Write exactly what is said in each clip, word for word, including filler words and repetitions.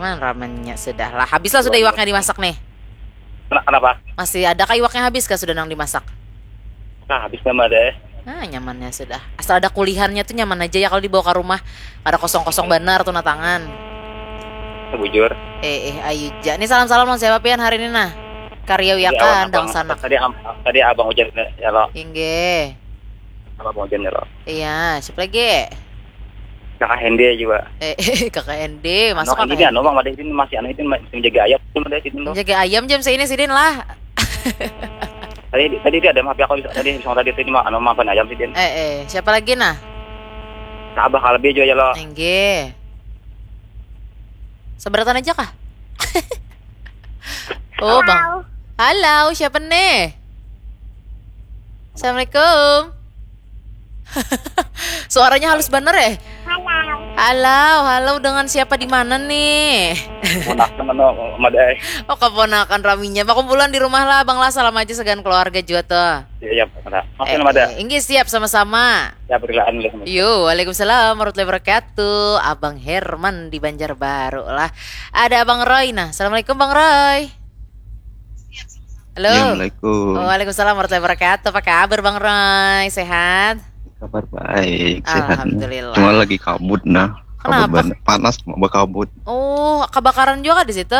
Mana ramennya sudah lah. Habis lah sudah iwaknya dimasak nih. Kenapa? Masih ada kah iwaknya, habis kah sudah nang dimasak? Nah, habis nama deh. Nah, nyamannya sudah. Asal ada kulihannya tuh nyaman aja ya kalau dibawa ke rumah. Ada kosong-kosong banar tuh nah tangan. Bujur. Eh, eh, ayu ja. Ini salam-salam sama siapa pian hari ini nah? Karyawi akan dong sanak. Tadi tadi abang hujan ya lo. Inggih. Abang hujan ya lo. Iya, siapa lagi? Kakak Hende juga. Eh, kakak Hende, masuk kakak Hende. Anu bang, ada ini masih anu itu masih menjaga ayam itu ada itu. Menjaga ayam jam seini sidin lah. Tadi tadi dia ada maaf ya, aku bisa tadi bisa tadi tadi mah anu maafin ayam sidin. Eh, eh, siapa lagi nah? Nah, abah kalbi juga ya lo. Enggih. Seberatan aja kah? Oh, Bang. Halo, siapa nih? Assalamualaikum. Suaranya halus bener ya? Halo. Halo, halo, dengan siapa di mana nih? Keponakan mana madai. Oh, keponakan raminya. Pakumpulan di rumah lah, Bang lah, salam aja segan keluarga juga tuh. Iya, iya, Pak. Masih eh, ada. Eh, inggih siap sama-sama. Ya, berilaan dulu. Yo, waalaikumsalam warahmatullahi wabarakatuh. Abang Herman di Banjarbaru lah. Ada Abang Roy nah. Assalamualaikum Bang Roy. Halo. Assalamualaikum. Waalaikumsalam warahmatullahi wabarakatuh. Apa kabar Bang Roy? Sehat? Kabar baik, sehat. Alhamdulillah. Cuma lagi kabut nah. Kenapa? Kabut panas cuma berkabut. Oh, kebakaran juga di situ?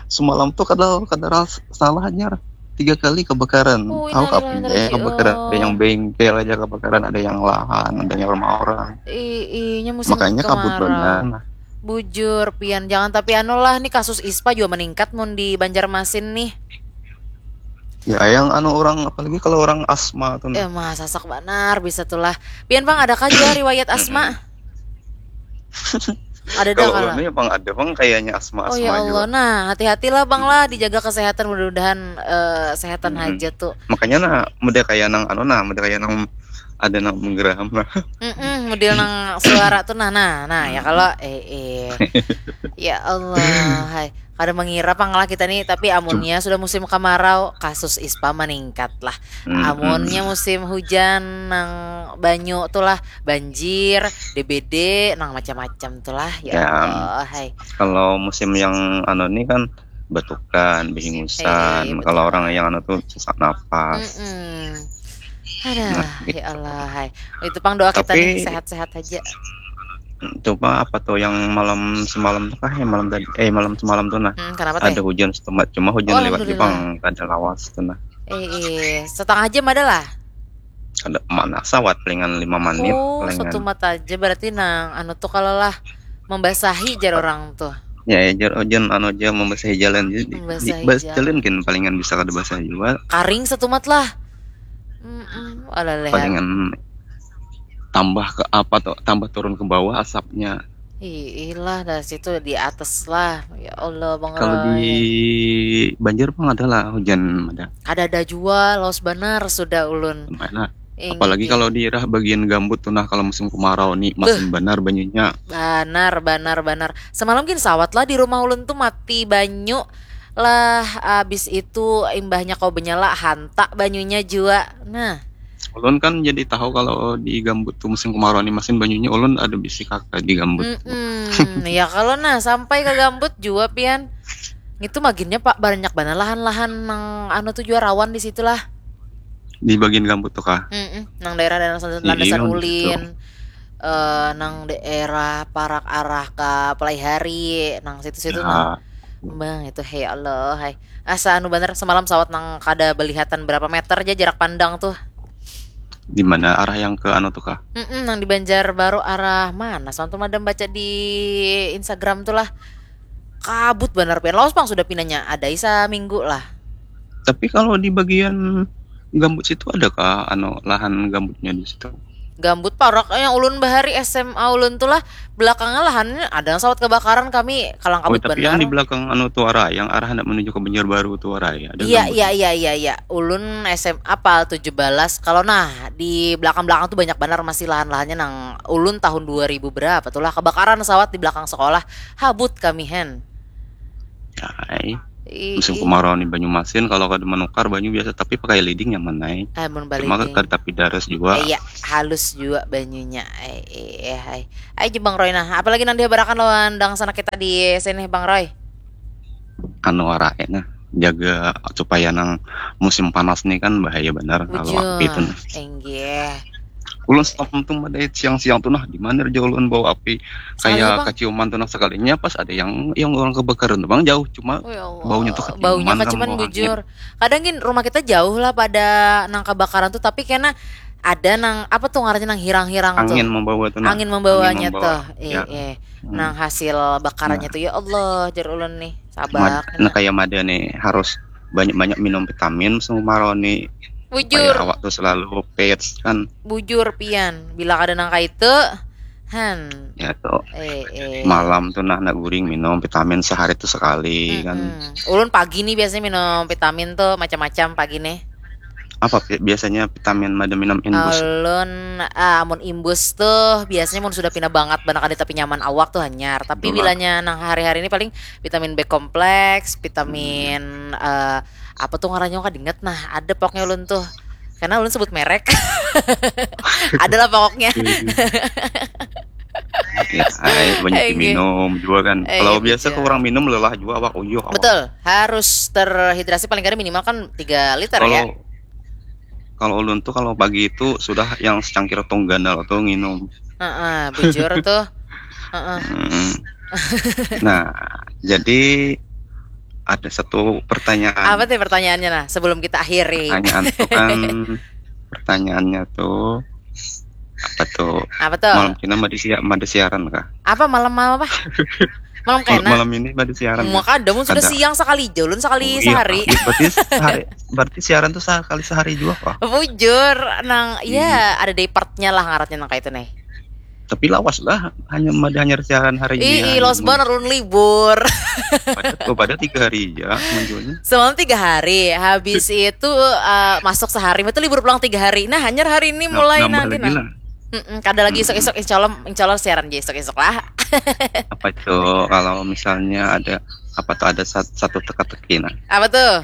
Semalam tuh kada kada salahnya tiga kali kebakaran. Oh, tahu kapan ya kebakaran? Ada yang bengkel aja kebakaran, ada yang lahan, ada yang rumah orang. Ih, iya musim Makanya kabut benar. Bujur pian, jangan tapi anu lah nih kasus ispa juga meningkat mun di Banjarmasin nih. Ya yang anu orang apalagi kalau orang asma tuh. Eh mah sasak banar bisa tuh lah. Pian bang ada kah juga riwayat asma? Ada dah kalau. Kalau bang ada bang kayaknya asma asma. Oh ya Allah, juga. Nah hati-hatilah bang lah dijaga kesehatan mudah-mudahan uh, sehatan hmm. Aja tuh. Makanya nah mudah kayak nang anu nah mudah kayak nang ada nang menggeraham nah. Mm -mm, model nang suara tuh nah nah nah ya kalau eh eh ya Allah hai kada mengira pang lah kita nih tapi amunnya sudah musim kemarau kasus ispa meningkat lah hmm, amunnya musim hujan nang banyu tuh lah banjir D B D nang macam-macam tuh lah ya, ya. Allah hai kalau musim yang anu nih kan batukan, behingusan. Eh, kalau orang yang anu tuh sesak napas. Mm -mm. Aduh, nah, gitu. Ya Allah, hai. Itu pang doa kita nih sehat-sehat aja. Coba apa tuh yang malam semalam tuh kah ya malam tadi eh malam semalam tuh nah hmm, ada hujan setempat cuma hujan oh, lewat Jepang ada lawas tuh nah eh, eh. Setengah jam ada lah ada mana sawat palingan lima menit oh, palingan. Satu mata aja berarti nang anu tuh kalau lah membasahi jar orang tuh ya ya jar hujan anu aja membasahi jalan jadi membasahi jalan kan palingan bisa kada basah juga karing setumat lah mm -mm. Alaleh. Palingan tambah ke apa tuh tambah turun ke bawah asapnya Ilah dah situ di atas lah ya Allah bang Kalau di Banjar bang ada lah hujan ada. Ada ada jua los banar sudah ulun. Mana? Apalagi kalau di daerah bagian gambut tuh nah kalau musim kemarau nih masin banar banyunya. Banar banar banar. Semalam gin sawat lah di rumah ulun tuh mati banyu lah abis itu imbahnya kau benyala hantak banyunya jua. Nah. Ulun kan jadi tahu kalau di gambut tuh musim kemarau nih masin banyunya ulun ada bisi kakak di gambut. Mm -mm. Ya kalau nah sampai ke gambut jua pian. Itu maginnya pak banyak banget lahan-lahan nang anu tuh jua rawan di situlah. Di bagian gambut tuh kah? Mm -mm. Nang daerah daerah landasan iya, ulin. Uh, nang daerah parak arah ke Pelaihari, nang situ-situ ya. Nang Bang itu hey Allah hai. Asa anu bener semalam sawat nang kada belihatan berapa meter aja jarak pandang tuh. Di mana arah yang ke anu tuh kah? Mm -mm, nang di Banjar Baru arah mana? Soalnya tuh madam baca di Instagram tuh lah. Kabut bener pian. Laos pang sudah pinanya ada isa minggu lah. Tapi kalau di bagian gambut situ ada kah anu lahan gambutnya di situ? Gambut parak yang ulun bahari S M A ulun tuh lah belakangnya lahannya ada sawat kebakaran kami kalang kabut oh, tapi benar. Yang di belakang anu tuara yang arah hendak menuju ke Banjarbaru tuara ya. Iya iya iya iya iya. Ulun S M A pal tujuh belas kalau nah di belakang-belakang tuh banyak benar masih lahan-lahannya nang ulun tahun dua ribu berapa tuh lah kebakaran sawat di belakang sekolah habut kami hen. Ay. Musim kemarau ni Banyumasin kalau kada menukar banyu biasa, tapi pakai leading nyaman ai. Cuma kada tapi daras jua. Iya, halus jua banyunya. Eh, eh, eh, hai. Ai je Bang Roy nah, apalagi nang dihabarakan lawan dangsanak kita di sini Bang Roy? Anu wara eh nah, jaga supaya nang musim panas ni kan bahaya banar kalau api tu nah. Inggih. Ulun semalam tu madait siang-siang tu nah, di mana ja ulun bau api kaya kaciuman tu nah, sekalinya pas ada yang yang orang kebakaran tu bang jauh, cuma baunya tu kaciuman. Baunya kaciuman bujur. Kadang gin rumah kita jauh lah pada nang kebakaran tu, tapi kena ada nang apa tu ngarannya nang hirang-hirang tu. Angin membawa tu nah. Angin membawanya tu. Eh, eh. Nang hasil bakarannya tu ya Allah jar ulun nih. Sabak. Nah, kayak mada nih harus banyak-banyak minum vitamin musim kemarau nih. Bujur. Supaya awak tuh selalu fit kan. Bujur pian, bila kada nang kaitu, han. Ya tuh. Eh, eh. Malam tuh nah nak guring minum vitamin sehari tuh sekali mm -mm. kan. Ulun pagi nih biasanya minum vitamin tuh macam-macam pagi nih. Apa biasanya vitamin mada minum imbus? Ulun ah, amun imbus tuh biasanya mun sudah pina bangat banget kada tapi nyaman awak tuh hanyar. Tapi Betul. bilanya nang hari-hari ini paling vitamin B kompleks, vitamin hmm. uh, apa tuh ngarannya kadingat nah ada pokoknya ulun tuh karena ulun sebut merek adalah pokoknya ya, banyak minum juga kan eh, kalau iya, biasa kurang minum lelah juga awak uyuh betul harus terhidrasi paling kada minimal kan tiga liter kalau, ya kalau ulun tuh kalau pagi itu sudah yang secangkir tong gandal tuh nginum uh -uh, bujur tuh uh -uh. Hmm. Nah, jadi ada satu pertanyaan. Apa tuh pertanyaannya nah sebelum kita akhiri? Pertanyaan itu kan pertanyaannya tuh apa tuh? Apa tuh? Malam kena mada siaran kah? Apa malam malam apa? Malam kena. Malam ini mada siaran. Maka ada mun sudah siang sekali jolun sekali oh, iya. sehari. Berarti sehari berarti siaran tuh sekali sehari juga kah? Bujur nang ya hmm. ada day partnya lah ngarannya nang kayak itu nih. Tapi lawas lah, hanya mada hanyar siaran hari ini. Ih, lawas banar ulun libur. Pada, oh, pada tiga hari ya munculnya. Semalam tiga hari, habis itu uh, masuk sehari, itu libur pulang tiga hari. Nah, hanyar hari ini mulai nah, nanti nah. Mm -mm, kada lagi isuk-isuk, insya Allah, insya Allah siaran aja isuk-isuk lah. Apa itu kalau misalnya ada apa tuh ada satu teka-teki nah? Apa tuh?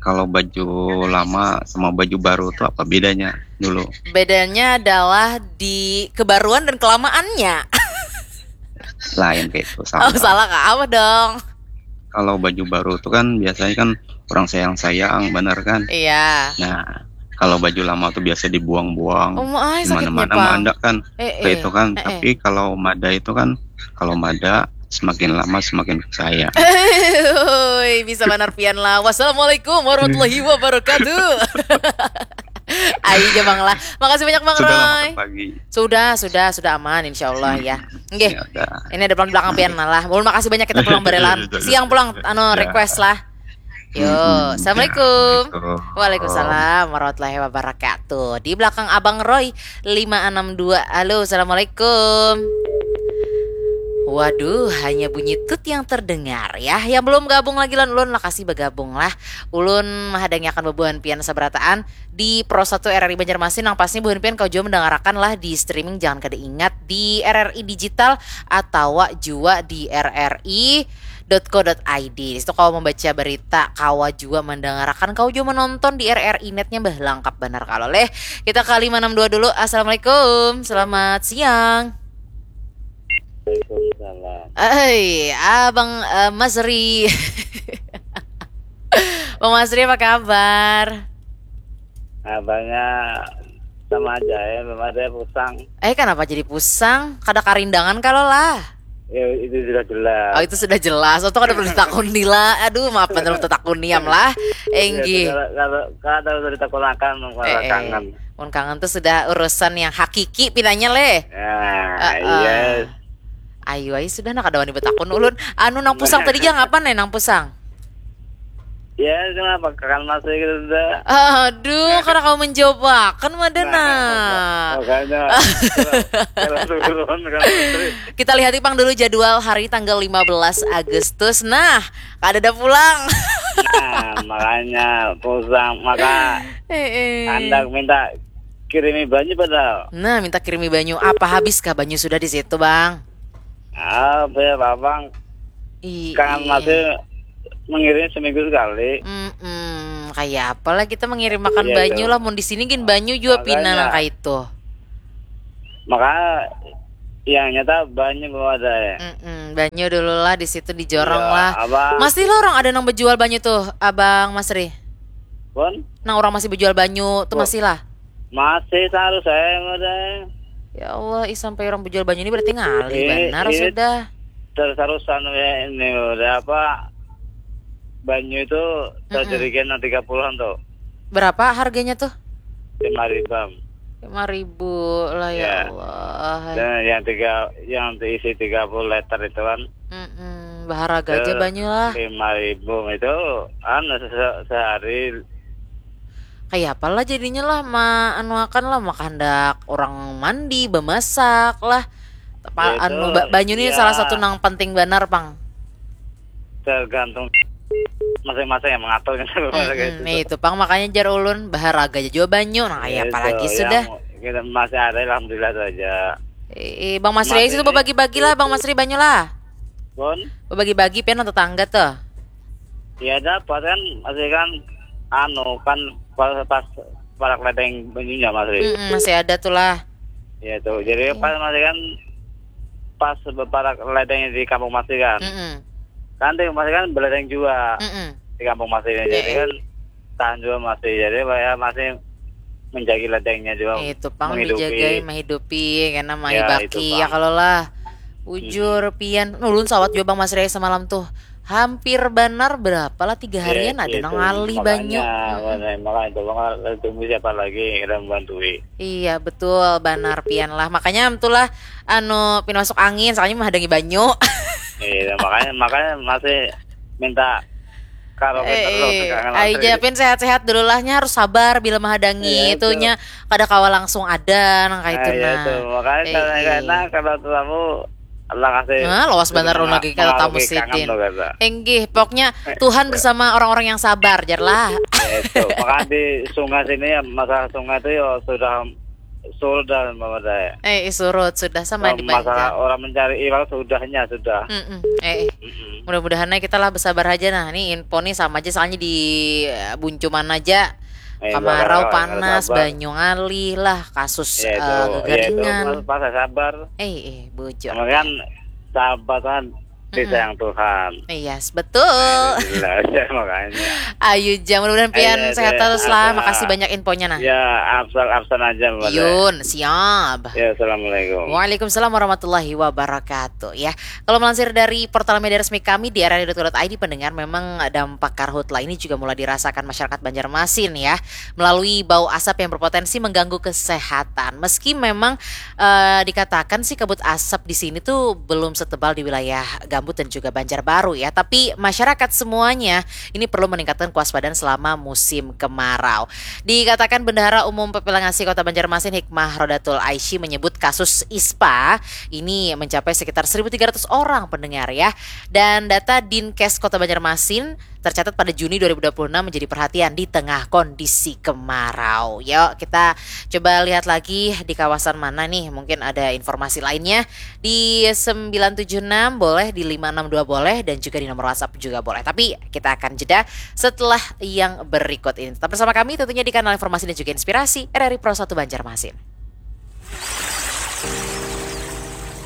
Kalau baju lama sama baju baru tuh apa bedanya dulu? Bedanya adalah di kebaruan dan kelamaannya. Lain kayak itu sama. Oh, salah kak, apa dong? Kalau baju baru tuh kan biasanya kan kurang sayang-sayang, bener kan? Iya. Nah, kalau baju lama tuh biasa dibuang-buang oh, di mana-mana mendak kan eh, eh, itu kan eh, tapi eh. kalau mada itu kan kalau mada semakin lama semakin percaya Hui, bisa benar pian lah wassalamualaikum warahmatullahi wabarakatuh Ayo aja bang lah Makasih banyak bang Roy Sudah sudah sudah aman insya Allah ya Nggih. Ya, ini ada pelan belakang pian lah. Ulun makasih banyak kita pulang berelan. Siang pulang anu ya. request lah. Yo, hmm, assalamualaikum. Waalaikumsalam warahmatullahi wabarakatuh. Di belakang Abang Roy lima enam dua. Halo, assalamualaikum. Waduh, hanya bunyi tut yang terdengar ya. Yang belum gabung lagi lan ulun lakasi bergabung lah. Ulun mahadangi akan bebuhan pian sabarataan di Pro satu R R I Banjarmasin nang pasnya buhan pian kau jua mendengarakan lah di streaming jangan kada ingat di R R I digital atawa jua di R R I dot co dot I D. Di situ kawa membaca berita, kawa jua mendengarakan, kawa jua menonton di R R I netnya bah lengkap benar kalau leh. Kita ke lima enam dua dulu. Assalamualaikum. Selamat siang. Waalaikumsalam. Hai, Abang uh, Masri. Bang Masri apa kabar? Abangnya sama aja ya, belum ada pusang. Eh, kenapa jadi pusang? Kada karindangan kalau lah. Ya, itu sudah jelas. Oh, itu sudah jelas. Untuk ada perlu ditakuni lah. Aduh, maaf bener untuk takuni am lah. Enggi. Ya, kalau kalau ada perlu ditakunakan eh, eh. kangen. Mun kangen tuh sudah urusan yang hakiki pinanya leh. Ya, uh, uh. Yes. Ayo ayo sudah nak ada wani betakun ulun. Anu nang pusang tadi jangan apa nih nang pusang? Ya, kenapa kan masih gitu dah. Aduh, karena kamu menjawab kan madana. Nah, makanya. Kita lihat ipang dulu jadwal hari tanggal lima belas Agustus. Nah, kada ada pulang. Nah, makanya pusang maka eh, eh. Andak minta kirimi banyu padahal. Nah, minta kirimi banyu. Apa habiskah banyu sudah di situ, Bang? Apa ya, Bang? Iya. Kan masih Mengirim seminggu sekali. Mm-mm. Kayak apalah kita mengirim makan Iya, banyu itu. Lah. Mun di sini gin banyu juga Makanya. Pina nang kayak itu. Maka yang nyata banyu belum ada ya. Mm-mm. Banyu dulu lah di situ di jorong iya, lah. Abang. Masih lah orang ada nang berjual banyu tuh, Abang Masri. Pun? Nang orang masih berjual banyu tuh masih lah. Masih taruh saya yang ada. Ya Allah, ih sampai orang berjual banyu ini berarti ngalih benar sudah. Terus-terusan ya ini udah apa? Banyu itu tajerigen yang tiga puluhan tuh. Berapa harganya tuh? Lima ribu. Lima ribu lah ya Allah. Dan yang tiga yang diisi tiga puluh liter itu kan. Mm-mm, baharaga aja banyu lah. Lima ribu itu anu se- sehari. Kayak apalah jadinya lah ma anu akan lah maka hendak orang mandi bemasak lah. Apa ya, anu itu, ba- banyu ini ya. Salah satu nang penting benar pang. Tergantung masing-masing yang mengatur gitu. Mm-mm, itu pang makanya jar ulun baharaga aja juga banyu nah kayak apalagi sudah. Kita masih ada alhamdulillah saja. Eh, Bang Masri itu bagi-bagi lah Bang Masri banyu lah. Bon? Bagi-bagi pian tetangga tuh. Iya dapat kan masih kan anu kan pas, pas parak ledeng banyunya masih. Mm-mm, masih ada tuh lah. Iya tuh. Jadi iya. Pas masih kan pas parak ledeng di kampung masih kan. Mm-mm. Kan di masih kan beledeng juga. Mm-mm. Di kampung masih ini. Jadi iya. Kan tahan juga masih jadi ya masih menjagi ledengnya juga itu pang menghidupi. Dijagai menghidupi karena mai ya, baki ya kalau lah bujur hmm. Pian nulun sawat juga bang Mas Ria semalam tuh hampir benar berapa lah tiga harian ya, ada nang ngalih banyu makanya itu bang tunggu siapa lagi yang kita membantui iya betul benar pian lah makanya itulah anu pin masuk angin soalnya menghadangi banyu iya makanya makanya masih minta kalau eh, eh. Ayo Japin sehat-sehat dulu lahnya harus sabar bila menghadangi ya, itunya kada kawa langsung ada nang kayak itu nah. Makanya eh, karena eh. Karena kalau tamu Allah kasih nah, luas benar lagi kalau tamu sidin. Enggih, pokoknya eh, Tuhan ya. Bersama orang-orang yang sabar, jarlah. Ya, itu. Makanya di sungai sini ya masalah sungai itu ya sudah surut dan memadai. Eh, surut sudah sama nah, di masalah orang mencari iwak sudahnya sudah. Mm-mm. Eh, eh. Mm-mm. Mudah-mudahan kita lah bersabar aja nah. Ini info nih sama aja soalnya di eh, Buncuman aja. Eh, kamarau panas, banyu ngalih lah, kasus ya, uh, gegaringan. Ya, pas sabar. Eh, eh, bujur. Kemudian sabar kan disayang Tuhan. Iya, yes, betul. Alhamdulillah, ya, makanya. Ayu jam mudah-mudahan pian sehat terus lah. Makasih banyak infonya nah. Ya, absen absen aja. Yun, siap. Ya, assalamualaikum. Waalaikumsalam warahmatullahi wabarakatuh. Ya, kalau melansir dari portal media resmi kami di R R I dot co dot I D pendengar memang dampak karhutla ini juga mulai dirasakan masyarakat Banjarmasin ya melalui bau asap yang berpotensi mengganggu kesehatan. Meski memang uh, dikatakan sih kabut asap di sini tuh belum setebal di wilayah Gambut dan juga Banjarbaru ya, tapi masyarakat semuanya ini perlu meningkatkan kewaspadaan selama musim kemarau. Dikatakan Bendahara Umum P P L N G A S I Kota Banjarmasin Hikmah Rodatul Aishi menyebut kasus ispa ini mencapai sekitar seribu tiga ratus orang pendengar ya. Dan data Dinkes Kota Banjarmasin tercatat pada Juni dua ribu dua puluh enam menjadi perhatian di tengah kondisi kemarau. Yuk, kita coba lihat lagi di kawasan mana nih, mungkin ada informasi lainnya di sembilan tujuh enam boleh, di lima enam dua boleh, dan juga di nomor WhatsApp juga boleh. Tapi kita akan jeda setelah yang berikut ini. Tetap bersama kami tentunya di kanal informasi dan juga inspirasi R R I Pro satu Banjarmasin.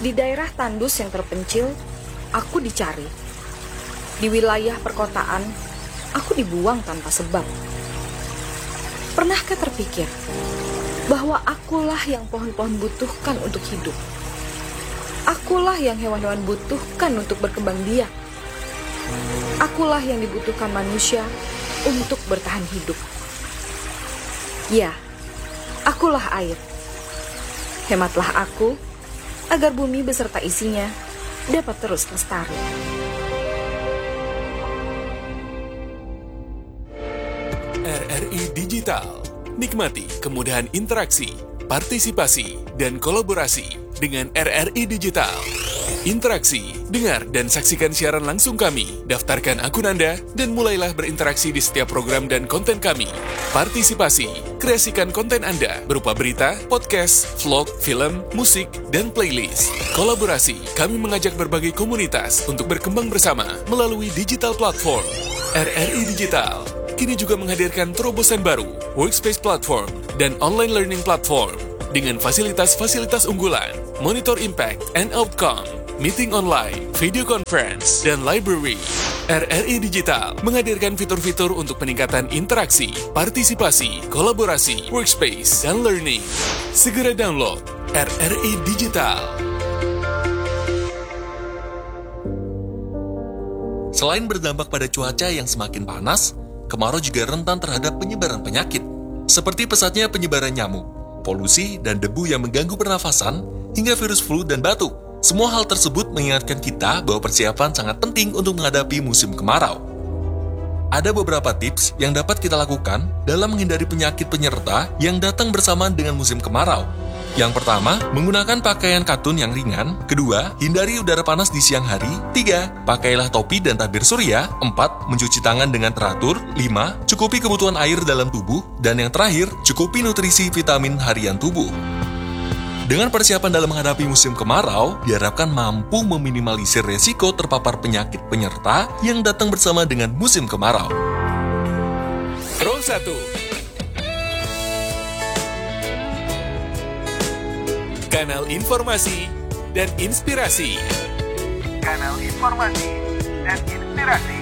Di daerah tandus yang terpencil, aku dicari. Di wilayah perkotaan, aku dibuang tanpa sebab. Pernahkah terpikir bahwa akulah yang pohon-pohon butuhkan untuk hidup? Akulah yang hewan-hewan butuhkan untuk berkembang biak. Akulah yang dibutuhkan manusia untuk bertahan hidup. Ya, akulah air. Hematlah aku, agar bumi beserta isinya dapat terus lestari. R R I Digital. Nikmati kemudahan interaksi, partisipasi, dan kolaborasi dengan R R I Digital. Interaksi, dengar dan saksikan siaran langsung kami. Daftarkan akun Anda dan mulailah berinteraksi di setiap program dan konten kami. Partisipasi, kreasikan konten Anda berupa berita, podcast, vlog, film, musik, dan playlist. Kolaborasi, kami mengajak berbagai komunitas untuk berkembang bersama melalui digital platform. R R I Digital kini juga menghadirkan terobosan baru, Workspace Platform, dan Online Learning Platform dengan fasilitas-fasilitas unggulan, monitor impact and outcome, meeting online, video conference, dan library. R R I Digital menghadirkan fitur-fitur untuk peningkatan interaksi, partisipasi, kolaborasi, workspace, dan learning. Segera download R R I Digital. Selain berdampak pada cuaca yang semakin panas, kemarau juga rentan terhadap penyebaran penyakit, seperti pesatnya penyebaran nyamuk, polusi, dan debu yang mengganggu pernafasan, hingga virus flu dan batuk. Semua hal tersebut mengingatkan kita bahwa persiapan sangat penting untuk menghadapi musim kemarau. Ada beberapa tips yang dapat kita lakukan dalam menghindari penyakit penyerta yang datang bersamaan dengan musim kemarau. Yang pertama, menggunakan pakaian katun yang ringan. Kedua, hindari udara panas di siang hari. Tiga, pakailah topi dan tabir surya. Empat, mencuci tangan dengan teratur. Lima, cukupi kebutuhan air dalam tubuh. Dan yang terakhir, cukupi nutrisi vitamin harian tubuh. Dengan persiapan dalam menghadapi musim kemarau, diharapkan mampu meminimalisir resiko terpapar penyakit penyerta yang datang bersama dengan musim kemarau. Roll satu. Kanal informasi dan inspirasi. Kanal informasi dan inspirasi.